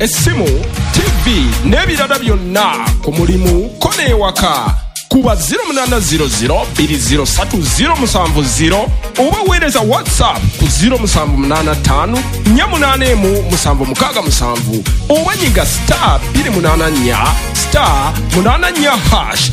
Essimu, TV n'ebirala byonna ku mulimu ko n'ewaka. Kuba 0800 203 070 oba weereza WhatsApp ku 0785 481 767 oba nyiga star 284 star 84 hash.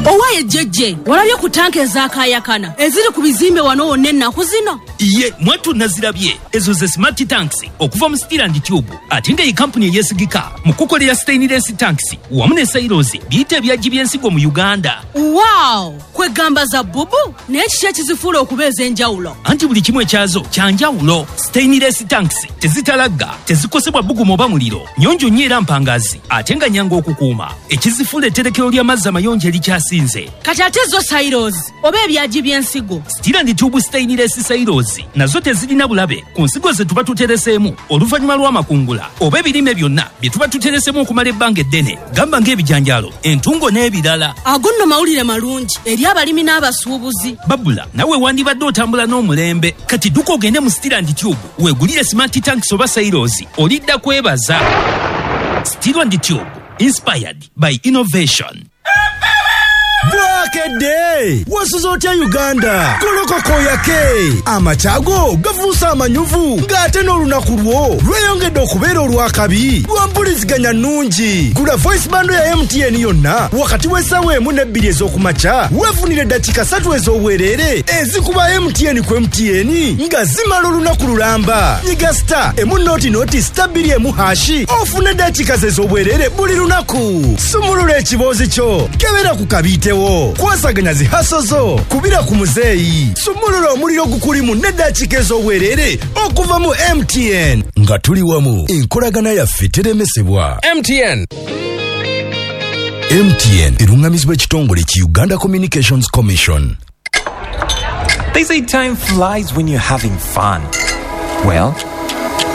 Owaye jjejje, walabye ku tanka ezaakaayakana eziri ku bizimbe wano wonna ennaku zino? Ye mwattu nazirabye. Ezo ze smart tanks okuva mu Steel and Tube, ate nga ye kampuni eyeesigika mu kukolera stainless tanks wamu ne silos biyite ebyagi by'ensigo mu Uganda. Wow, kwegamba za bubu, naye kiki ekizifuula okuba ez'enjawulo? Anti buli kimu ekyazo kya njawulo. Stainless tanks tezitalagga, tezikosebwa bbugumu oba muliro, nnyonjo nnyo era mpangazi, ate nga nnyangu okukuuma. Ekizifuula etterekero ly'amazzi amayonjo erikyasinze. Kati ate zo silos oba ebyagi by'ensigo? Steel and Tube stainless silos nazo tezirina bulabe ku nsigo ze tuba tutereseemu oluvannyuma lw'amakungula oba ebirime byonna bye tuba tutereseemu okumala ebbanga eddene, gamba ng'ebijanjaalo, entungo n'ebirala. Ago nno mawulire malungi eri abalimi n'abasuubuzi. Babula, nawe wandibadde otambula n'omulembe. Kati dduka ogende mu Steel and Tube weegulire smart tanks oba silos, olidda kwebaza. Steel and Tube, inspired by innovation. Bwakedde wasuze otya Uganda? Golokoka oyake, amakya go gafuuse amanyuvu, ng'ate n'olunaku lwo lweyongedde okubeera olwakabi lwa mpuliziganya nnungi. Gula voice bundle ya MTN yonna wakati w'essaawa 1 ne 2 ez'okumakya, weefunire eddakiika 3 ez'obwereere ezikuba MTN ku MTN nga zimala olunaku lulamba. Nyiga star emu noti noti star 2 emu hashi ofune eddakiika ze ez'obwereere buli lunaku. Sumulula ekiboozi kyo, kebera ku kabiitewo, kwasaganya zi haso zo, kubira ku muzeeyi, sumulula omuliro gukulimu n'eddakiika ez'obwereere okuva mu MTN. Nga tuli wamu, enkolagana yaffe teremesebwa. MTN. MTN erungamizibwa ekitongole ki Uganda Communications Commission. They say time flies when you're having fun. Well,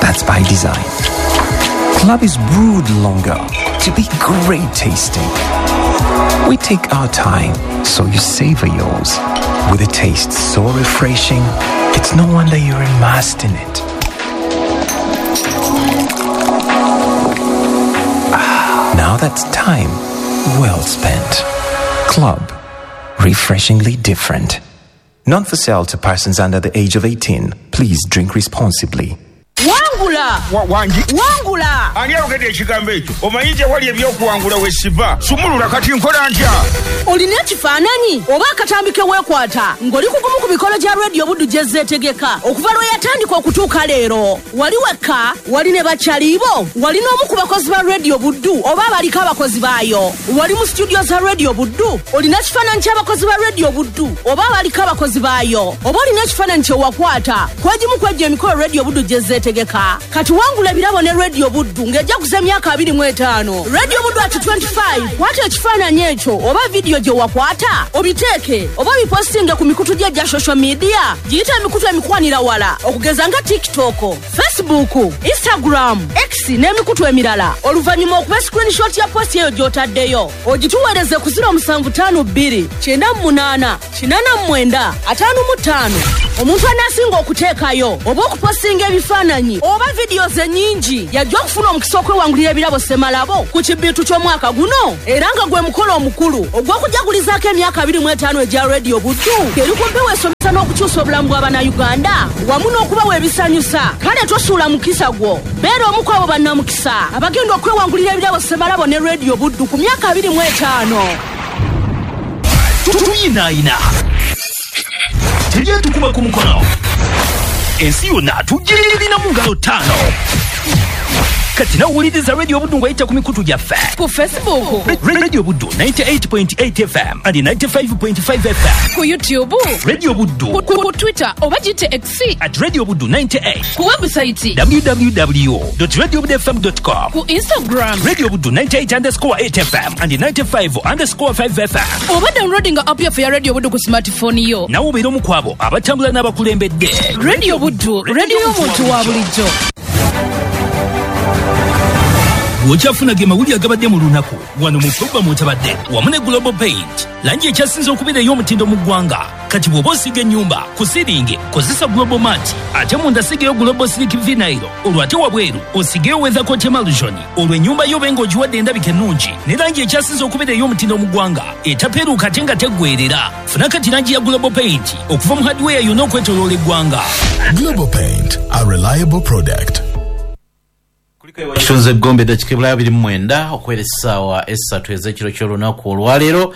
that's by design. Club is brewed longer to be great tasting. We take our time so you savor yours. With a taste so refreshing, it's no wonder you're immersed in it. Now that's time well spent. Club, refreshingly different. Not for sale to persons under the age of 18. Please drink responsibly. Wangula! Wangi? Wangula! Ani ayogedde ekigambo ekyo? Omanyi gye wali ebyokuwangula we siva. Sumulula kati nkola ntya? Olina ekifaananyi oba akatambi ke weekwata ng'oli ku gumu ku mikolo gya Radio Buddu gye zeetegeka okuva lwe yatandika okutuuka leero. Wali wekka, wali ne bakyalibo, wali n'omu ku bakozi ba Radio Buddu oba abaliko abakozi baayo. Wali mu studio za Radio Buddu, olina ekifaananyi ky'abakozi ba Radio Buddu oba abaliko abakozi baayo, oba olina ekifaananyi kye wakwata kw'egimu kw'egyo emikolo Radio Buddu gye zeetegeka. Kati wangula ebirabo ne Radio Buddu ng'ejaguza emyaka 25. Radio Buddu at 25. Kwata ekifaananyi ekyo oba vidiyo gye wakwata, obiteeke oba obipostinge ku mikutu gye egya social media. Giyite emikutu emikwanira wala okugeza nga TikTok, Facebook, Instagram, X n'emikutu emirala. Oluvannyuma okuba screenshot ya post eyo gy'otaddeyo, ogituweereze ku 0752 98 89 55. Omuntu anaasinga okuteekayo oba okupostinga ebifaananyi oba vidiyo ze nnyingi yajja okufuna omukisa okwewangulira ebirabo ssemalabo ku kibbiitu ky'omwaka guno, era nga gwe mukolo omukulu ogw'okujagulizaako emyaka 25 egya Radio Buddu eri ku mpewo esomesa n'okukyusa obulamu bw'Abannayuganda wamu n'okubawa ebisanyusa. Kale tosuula mukisa gwo, beera omu ku abo bannamukisa abagenda okwewangulira ebirabo ssemalabo ne Radio Buddu ku myaka 25. Tuyinaayina tebyetukuba ku mukono, ensi yonna tugirina mu ngalo 5. Kati nawuliriza Radio Buddu ng'oyita ku mikutu gyaffe ku Facebook Radio Buddu 98.8 FM and 95.5 FM, ku YouTube Radio Buddu, ku Twitter oba giyite X at Radio Buddu 98, ku website www.radiobudfm.com, ku Instagram Radio Buddu 98_8 FM and 95_5 FM, oba downloadinga app yaffe ya Radio Buddu ku smartphone yo. Nawe obeera omu ku abo abatambula n'abakulembedde. Radio Buddu, radio y'omuntu wa bulijjo. Gwokyafuna ge mawulire agabadde mu lunaku wano mu pulogulaamu otabadde wamu ne Global Paint, langi ekyasinze okubeera ey'omutindo mu ggwanga. Kati bw'oba osiiga ennyumba ku siringi kozesa Global Mat, ate munda sigayo Global Silk Vinyl, olwo ate wabweru osigeyo Weather Coat Emulsion, olwo ennyumba yo obe ng'ogiwadde endabika ennungi ne langi ekyasinze okubeera ey'omutindo mu ggwanga etapeeruuka ate nga teggweerera. Funa kati langi ya Global Paint okuva mu hardware yonna okwetooloola eggwanga. Global Paint, a reliable product. Kitunze Gombe eddakiika ebulayo 29 okwera essaawa essatu ez'ekiro ky'olunaku olwaleero.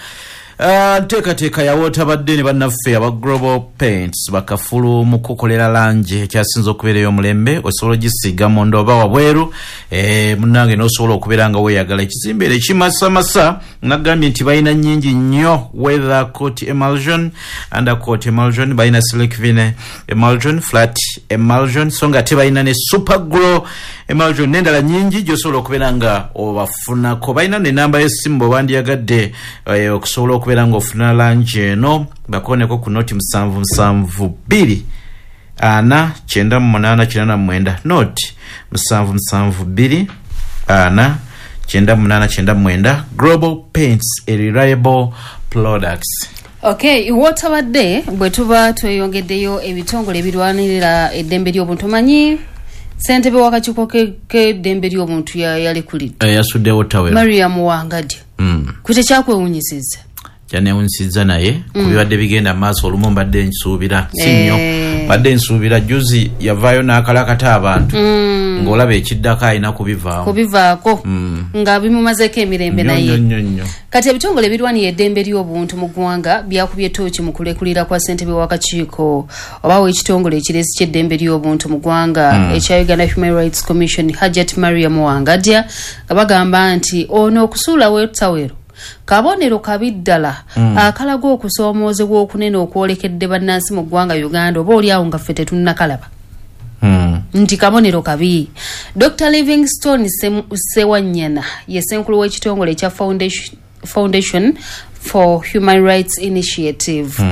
Nteekateeka ya wootabadde ne bannaffe aba Global Paints bakafulu mu kukolera langi ekyasinze okubeera ey'omulembe. Osobola ogisiiga munda oba wabweru, munnange n'osobola okubeera nga weeyagala ekizimbe era ekimasamasa. Nagambye nti balina nnyingi nnyo: weather coat emulsion, undercoat emulsion, balina silk vinyl emulsion, flat emulsion, so nga ate balina ne super glow emulsion n'endala nnyingi gy'osobola okubeera nga obafunako. Balina nenamba y'essimu bwe bandiyagadde okusobola okubeera ng'ofuna langi eno, bakoneko ku noti 772 4 98 89, noti 772 4 98 99. Global Paints, a reliable products. Okay, wotabadde bwe tuba tweyongeddeyo ebitongole ebirwanirira eddembe ly'obuntu, omanyi ssentebe w'akakiiko k'eddembe ly'obuntu yalekulidde. Yasuddewo tawero. Mariam Wangadya. Kwe tekyakwewunyisizza? Kyanewunyisizza, naye ku bibadde bigenda mu maaso olumu mbadde nsuubira si nnyo. Mbadde nsuubira juzi yavaayo n'akalakata abantu, ng'olaba ekiddako alina kubivaamu. Kubivaako nga bimumazeeko emirembe. Nnyo, naye nnyo, nnyo, nnyo. Kati ebitongole ebirwanira eddembe ly'obuntu mu ggwanga byakubye tooki mu kulekulira kwa ssentebe w'akakiiko oba w'ekitongole ekirezi ky'eddembe ly'obuntu mu ggwanga ekya Uganda Human Rights Commission, Hajat Mariam Wangadya, nga bagamba nti ono okusuulawo ettawero kabonero kabi ddala akalaga okusoomoozebwa okunene okwolekedde bannansi mu ggwanga Uganda, oba oliawo nga ffe tetunnakalaba nti kabonero kabi. Dr Livingstone Sewanyana ye ssenkulu w'ekitongole ekya Foundation for Human Rights Initiative.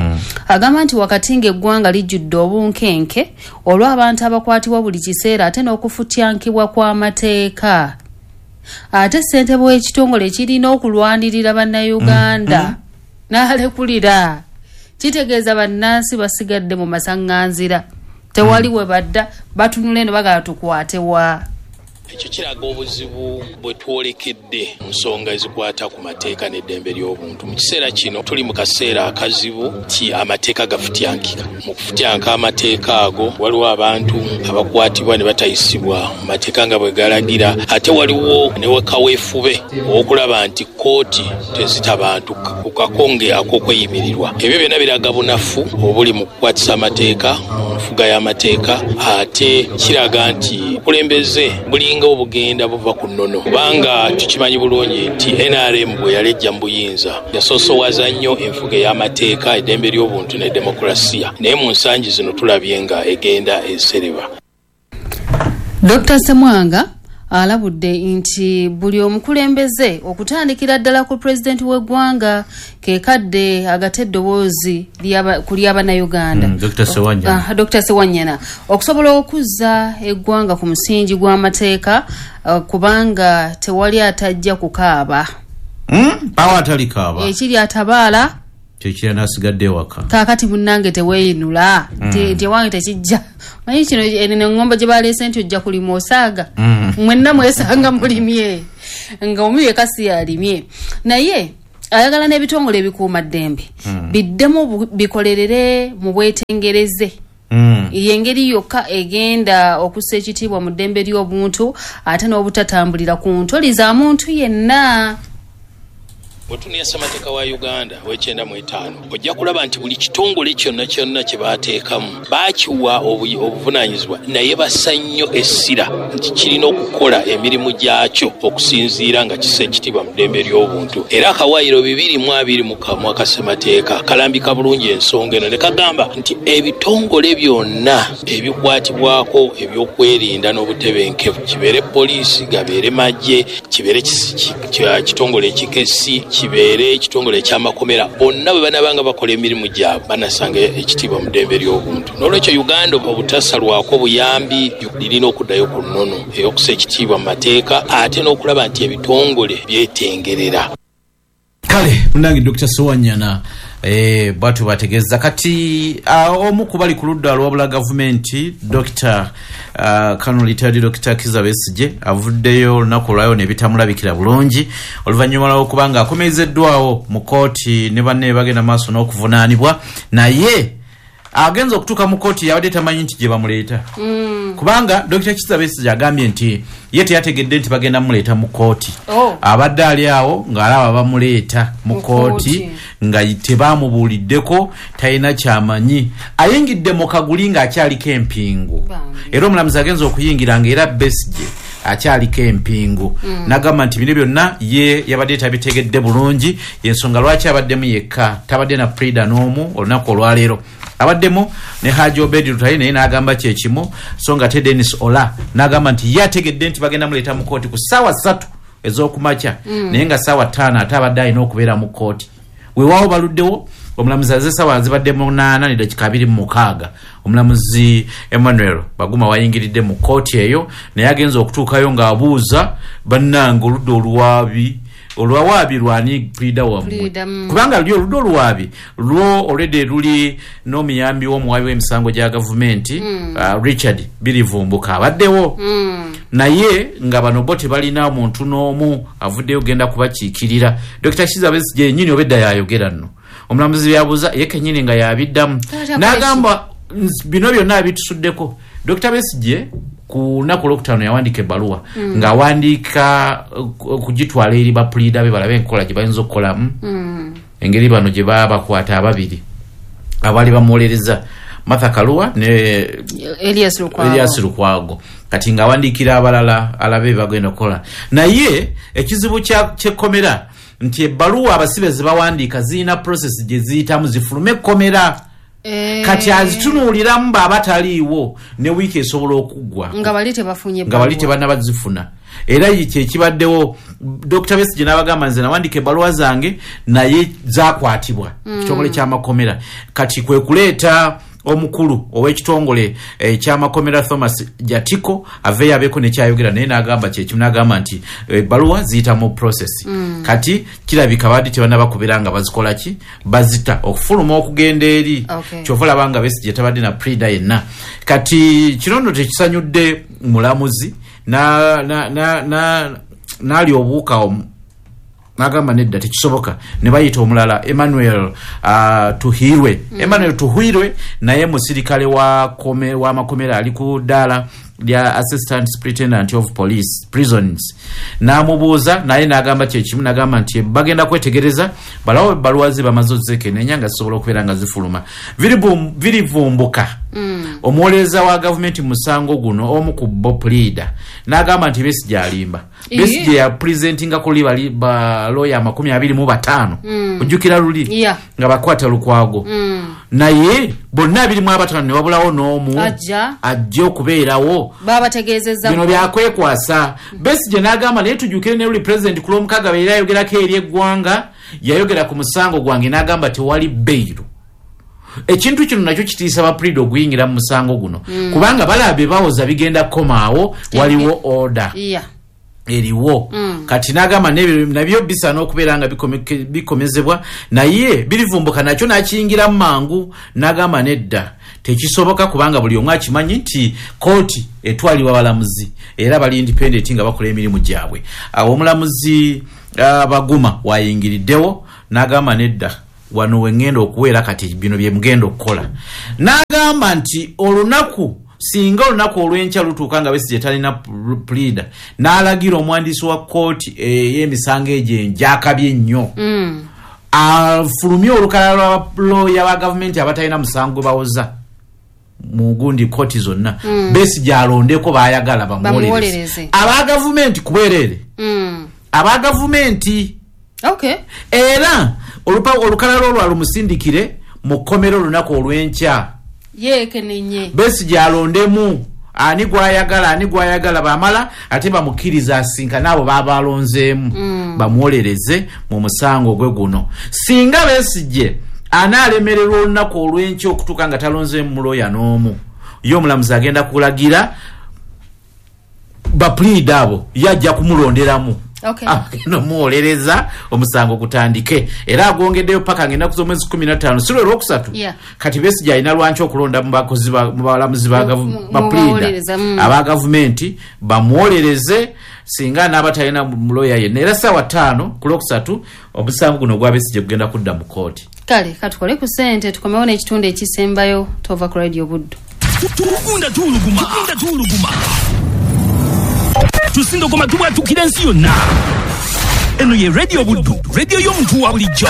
Agamba nti wakati ng'eggwanga lijjudde obunkenke olw'abantu abakwatibwa buli kiseera ate n'okufutyankibwa kw'amateeka, ate ssentebe w'ekitongole kirina okulwanirira bannayuganda n'alekulira, kitegeeza bannansi basigadde mu masaŋŋanzira, tewali we badda, batunula eno bagala tukwatewa. Ekyo kiraga obuzibu bwe twolekedde mu nsonga ezikwata ku mateeka n'eddembe ly'obuntu. Mu kiseera kino tuli mu kaseera akazibu nti amateeka gafutyankika. Mu kufutyanka amateeka ago, waliwo abantu abakwatibwa ne batayisibwa mu mateeka nga bwe galagira, ate waliwo ne kaweefube okulaba nti kkooti tezita bantu ku kakonge ak'okweyimirirwa. Ebyo byonna biraga bunafu obuli mu kukwatisa amateeka, mu nfuga y'amateeka, ate kiraga nti obukulembeze bulinga obugenda buva ku nnono, kubanga tukimanyi bulungi nti NRM bwe yalejja mu buyinza yasoosowaza nnyo enfuga ey'amateeka, eddembe ly'obuntu ne demokulasiya, naye mu nsangi zino tulabye nga egenda esereba. Dr Semwanga alabudde nti buli omukulembeze okutandikira ddala ku pulezidenti w'eggwanga kekadde agate eddoboozi ku ly'abannayuganda. Dr. Sewanyana. Ah, Dr Sewanyana, okusobola okuzza eggwanga ku musingi gw'amateeka, kubanga tewali atajja kukaaba. Awo atalikaaba. Ekiri atabaala kyekira n'asigadde ewaka. Kaakati munnange teweeyinula nti ewange tekijja. Manyi kino eno eŋŋombo gye baleese nti ojja kulima osaaga. Mwenna mwesanga mulimye nga omu yekka si yalimye, naye ayagala n'ebitongole ebikuuma ddembe biddemu bikolerere mu bwetengereze. Yengeri yokka egenda okussa ekitiibwa mu ddembe ly'obuntu ate n'obutatambulira ku ntoli za muntu yenna. Bwe tunenya ssemateeka wa Uganda ow'e95, ojja kulaba nti buli kitongole kyonna kyonna kye baateekamu baakiwa obuvunaanyizibwa, naye bassa nnyo essira nti kirina okukola emirimu gyakyo okusinziira nga kissa ekitiibwa mu ddembe ly'obuntu. Era akawaayiro 221 aka ssemateeka kalambika bulungi ensonga eno ne kagamba nti ebitongole byonna ebikwatibwako ebyokwerinda n'obutebenkevu, kibeere poliisi, gabeere magye, kibeere kitongole ekikessi, Kibeere ekitongole ekyamakomera, bonna bwe banaabanga bakola emirimu gyabwe banasanga ekitiibwa mu ddembe ly'obuntu. N'olwekyo Uganda obutasalwako buyambi lirina okuddayo ku nnono ey'okussa ekitiibwa mu mateeka, ate n'okulaba nti ebitongole byetengerera. Kale munange Dr. Sewanyana bwatu bategeeza kati omu ku bali ku ludda lwabula gavumenti Dr. Colonel Retired Dr. Kizza Besigye avuddeyo olunaku olwayo ne bitamulabikira bulungi oluvannyuma lw'okubanga akomezeddwawo mu kooti ne banne bagenda maaso n'okuvunaanibwa, naye agenza okutuuka mu kooti yabadde tamanyi nti gye bamuleeta. Kubanga Dr. Kizza Besigye agambye nti ye teyategedde nti bagenda muleeta mu kooti. Abadde ali awo ng'alaba bamuleeta mu kooti nga tebamubuuliddeko, talina kyamanyi. Ayingidde mu kaguli ng'akyaliko empingu. Era omulamuzi agenza okuyingira ng'era Besigye akyaliko empingu. N'agamba nti bino byonna ye yabadde tabitegedde bulungi, y'ensonga lwaki abaddemu yekka, tabadde na Prida n'omu olunaku olwaleero. Abaddemu ne Haji Obedi Lutale naye n'agamba kye kimu, so nga te Dennis Ola n'agamba nti ye ategedde nti bagenda muleeta mu kooti ku ssaawa 3 ez'okumakya, naye nga ssaawa 5 ate abadde alina okubeera mu kooti. Weewaawo baluddewo, omulamuzi aze ssaawa zibadde 8:26. Omulamuzi Emmanuel Baguma wayingiridde mu kooti eyo, naye agenza okutuukayo ng'abuuza bannange oludda oluwaabi olwawaabi lwani Prida wammwe, kubanga luli oludda oluwaabi lwo already luli n'omuyambi w'omuwaabi w'emisango gya gavumenti Richard Birivumbuka abaddewo, naye nga bano bo tebalina muntu n'omu avuddeyo genda kubakiikirira. Dr. Kizza Besigye yennyini obedda yayogera nno, omulamuzi byabuuza ye kennyini nga yabiddamu n'agamba bino byonna abitusuddeko. Dr. Besigye ku lunaku olwokutaano yawandiika ebbaluwa ng'awandiika okugitwala eri bapuliida be balabe enkola gye bayinza okukolamu, engeri bano gye babakwata ababiri abaali bamuwolereza Martha Karua ne Elias Lukwago. Kati ng'awandiikira abalala alabe bagenda okukola. Naye ekizibu ky'ekkomera nti ebbaluwa abasibe ze bawandiika zirina process gye ziyitamu zifulume ekkomera. Kati azitunuuliramu bw'aba taliiwo ne wiiki esobola okuggwa nga bali tebafunye, nga bali tebannabazifuna. Era kye kibaddewo. Dr. Besigye n'abagamba nze nawandiika ebbaluwa zange naye zakwatibwa ekitongole ky'amakomera. Kati kwe kuleeta omukulu ow'ekitongole eky'amakomera Thomas Jatiko aveeyo abeeko nekyayogera, naye n'agamba kyekimu, n'agamba nti ebbaluwa ziyita mu process. Kati kirabika badde tebannabakubira nga bazikola ki, bazita okufuluma okugenda eri. Kyova olaba nga Besigye tabadde na Prida yenna. Kati kino nno tekisanyudde mulamuzi n'ali obuuka n'agamba nedda tekisoboka, ne bayita omulala Emmanuel Tuhirwe. Emmanuel Tuhirwe naye musirikale wa makomera ali ku ddaala lya Assistant Superintendent of Police Prisons. N'amubuuza naye n'agamba kyekimu, n'agamba nti bagenda kwetegereza balawo ebbaluwa ze bamaze ozekenenya nga zisobola okubeera nga zifuluma. Birivumbuka omuwolereza wa gavumenti mu musango guno omu ku bo Prida n'agamba nti Besigye alimba. Besigye yapresentinga kuli bali balooya 25, ojjukira luli nga bakwata Lukwago, naye bonna 25 ne wabulawo n'omu ajja okubeerawo. Babategeezezza bino byakwekwasa. Besigye n'agamba naye tujjukire ne luli president ku Lwomukaaga era yayogerako eri eggwanga, yayogera ku musango gwange n'agamba tewali beiru. Ekintu kino nakyo kitiisa ba Prida okuyingira mu musango guno, kubanga balaba bawoza bigenda kukomaawo, waliwo order eriwo. Kati n'agamba nabyo bisaana okubeera nga bikomezebwa, naye birivumbuka nakyo n'akiyingiramu mangu n'agamba nedda tekisoboka, kubanga buli omu akimanyi nti kooti etwalibwa balamuzi era bali independent nga bakola emirimu gyabwe. Awo omulamuzi Baguma wayingiriddewo n'agamba nedda wano wengenda okuweera kati bino bye mugenda okukola. N'agamba nti olunaku singa olunaku olw'enkya lutuuka nga Besigye talina Prida, n'alagira omuwandiisi wa kooti ey'emisango egyo enjakabye ennyo afulumye olukalala lwa looya ba gavumenti abatalina musango gwe bawoza mu gundi kooti zonna. Besigye alondeko baayagala bamuwolereze. Aba gavumenti kubwereere, aba gavumenti era olukalala olwo alumusindikire mu kkomera olunaku olw'enkya yeekenenye. Besigye alondemu Ani gwayagala, ani gwayagala, bamala ate bamukkiriza asinkane abo baba alonzeemu, bamuwolereze mu musango gwe guno. Singa Besigye anaalemererwa olunaku olw'enkya okutuuka nga talonzeemu muloya n'omu, ye omulamuzi agenda kulagira bapuliida abo yajja kumulonderamu, agenda omuwolereza omusango gutandike. Era agwongeddeyo paka ng'ennaku z'omwezi 15, si lwe lwokusatu. Kati Besigye alina lwanki okulonda mu bakozi mu balamuzi ba bapuliida bawolereza, aba gavumenti bamuwolereze singa anaaba talina muloya yenna. Era ssaawa 5 ku lwokusatu omusango guno ogwa Besigye gugenda kudda mu kooti. Kale katukole ku ssente, tukomewo n'ekitundu ekisembayo. Tova ku Radio Buddu. Tugunda tuwuluguma, tugunda tuwuluguma, tusindogoma, tubwatukira ensi yonna. Eno ye Radio Buddu, radio y'omuntu wa bulijjo.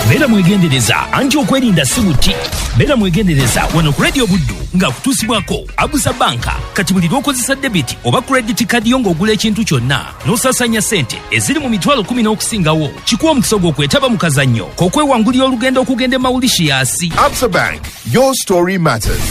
Beera mwegendereza, anti okwerinda si buti. Beera mwegendereza wano ku Radio Buddu nga kutuusibwako Absa Banka. Kati buli lw'okozesa debit oba credit card yo ng'ogula ekintu kyonna n'osaasaanya ssente eziri mu 10,000 n'okusingawo, kikuwa omukisa gw'okwetaba mu kazannyo k'okwewangulira olugendo okugenda e Mauritius. Absa Bank, your story matters.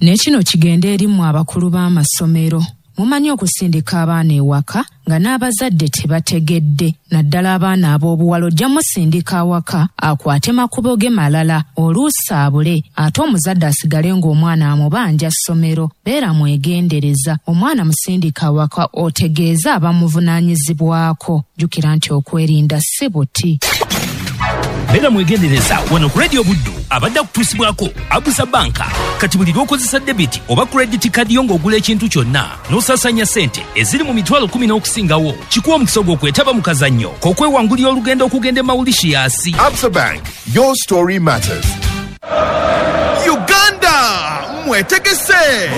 Ne kino kigende eri mmwe abakulu b'amasomero. Mumanyi okusindika abaana ewaka nga n'abazadde tebategedde, naddala abaana ab'obuwala. Ojja musindika awaka akwate makubo ge malala, oluusi abule, ate omuzadde asigale ng'omwana amubanja ssomero. Beera mwegendereza, omwana musindika awaka otegeeze abamuvunaanyizibwako. Jjukira nti okwerinda si buti. Beera mwegendereza wano ku Radio Buddu abadde akutuusibwako Absa Banka. Kati buli lw'okozesa debit oba credit card yo ng'ogula ekintu kyonna n'osaasaanya ssente eziri mu 10,000 n'okusingawo, kikuwa omukisa gw'okwetaba mu kazannyo k'okwewangulira olugendo okugenda e Mauritius. Absa Bank, your story matters. Uganda mwetegese.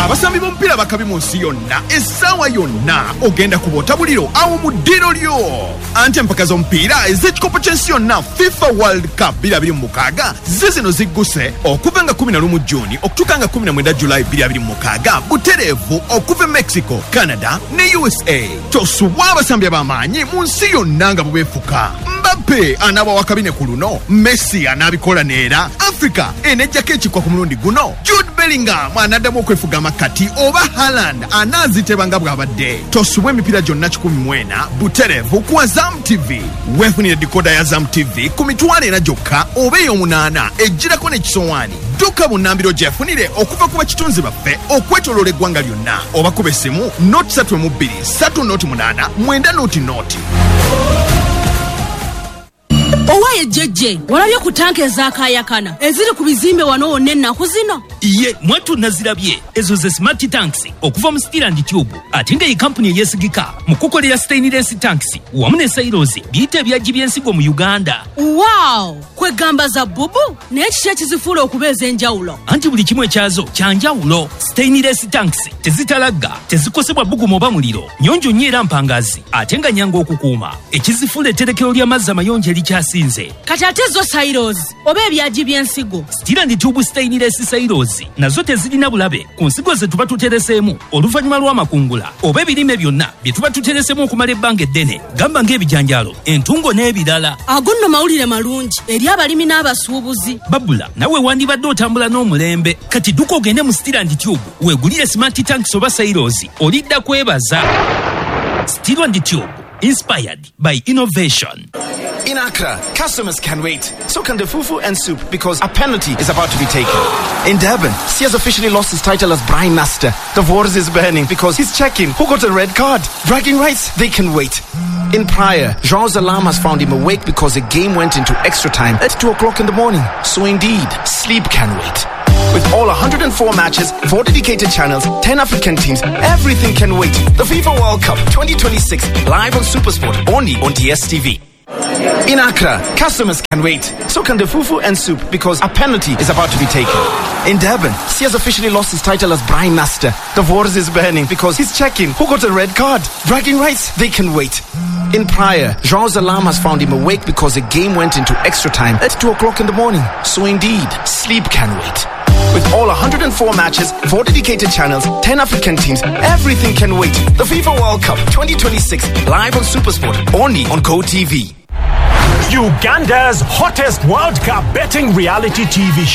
Abasambi b'omupiira bakabi mu nsi yonna, essaawa yonna ogenda kuboota buliro awo mu ddiro lyo. Anti empaka z'omupiira ez'ekikopo ky'ensi yonna FIFA World Cup 2026 zizino zigguse okuva nga 11 Juni okutuuka nga 19 Julayi 2026, butereevu okuva e Mexico, Canada ne USA. Tosubwa abasambi ab'amaanyi mu nsi yonna nga bubeefuka. Mbappe anaaba wakabine ku luno, Messi anaabikola neera, Africa enejjako ekikwa ku mulundi guno, Jude Bellingham anaddamu okwefuga amakati oba Haaland anaaziteba nga bw'abadde. Tosubwa emipiira gyonna 140 butereevu ku Azam TV. Weefunire dikoda ya Azam TV ku 400,000 gyokka oba ey'omunaana ejjirako n'ekisowaani. Dduka bunnambiro gyefunire okuva ku bakitunzi baffe okwetooloola eggwanga lyonna, oba kuba essimu 032 308 900. Owaye jjejje, walabye ku tanka ezakayakana eziri ku bizimbe wano wonna ennaku zino? Ye mwattu nazirabye. Ezo ze smart tanks okuva mu Steel and Tube, ate nga ye kampuni eyeesigika mu kukolera stainless tanks wamu ne silos, biyita ebyagi by'ensigo mu Uganda. Wow, kwegamba za bubu. Naye kiki ekizifuula okuba ez'enjawulo? Anti buli kimu ekyazo kya njawulo. Stainless tanks tezitalagga, tezikosebwa bbugumu oba muliro, nnyonjo nnyo era mpangazi, ate nga nyangu okukuuma. Ekizifuula etterekero ly'amazzi amayonjo erikyasinze. Kati ate zo silos oba ebyagi by'ensigo? Steel and Tube stainless silos nazo tezirina bulabe ku nsigo ze tuba tutereseemu oluvannyuma lw'amakungula oba ebirime byonna bye tuba tutereseemu okumala ebbanga eddene, gamba ng'ebijanjaalo, entungo n'ebirala. Ago nno mawulire malungi eri abalimi n'abasuubuzi. Babula nawe wandibadde otambula n'omulembe. Kati dduka ogende mu Steel and Tube weegulire smart tanks oba silos, olidda kwebaza. Steel and Tube, inspired by innovation. In Accra, customers can wait. So can the fufu and soup, because a penalty is about to be taken. In Durban, Sia's officially lost his title as Brian Master. The Wars is burning because he's checking who got a red card. Bragging rights, they can wait. In Praia, João's alarm has found him awake because the game went into extra time at 2 o'clock in the morning. So indeed, sleep can wait. With all 104 matches, 4 dedicated channels, 10 African teams, everything can wait. The FIFA World Cup 2026, live on SuperSport, only on DSTV. In Accra, customers can wait. So can the fufu and soup, because a penalty is about to be taken. In Durban, Sia's officially lost his title as Brian Master. The Wars is burning because he's checking who got a red card. Bragging rights, they can wait. In Praia, João's alarm has found him awake because the game went into extra time at 2 o'clock in the morning. So indeed, sleep can wait. With all 104 matches, 4 dedicated channels, 10 African teams, everything can wait. The FIFA World Cup 2026, live on SuperSport, only on GoTV. Uganda's hottest World Cup betting reality TV